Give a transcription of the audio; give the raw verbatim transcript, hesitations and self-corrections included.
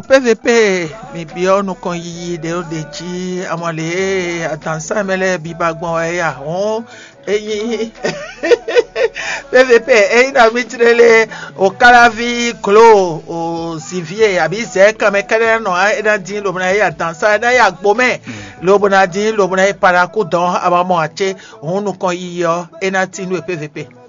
P V P, mi byɔ́ nukɔn yiyi ɖě ɖo ɖě jí, amɔ lě e adǎnsá mɛ lɛ́ɛ biba gbɔn wɛ é a? Hɔn, ényí P V P, ényí nɔví jlélé o káláví glo o zǐví e abǐ zɛ̌ kanmɛ kɛ́ɖɛ́ nɔ é ná dín lobo ná yi adǎnsá, é ná yi agbo mɛ lobo ná dín lobo ná yi paɖakú dɔn, a ma mɔ ǎ cé? Hɔn, nukɔn yiyi ɔ́, é ná tín nú e P V P.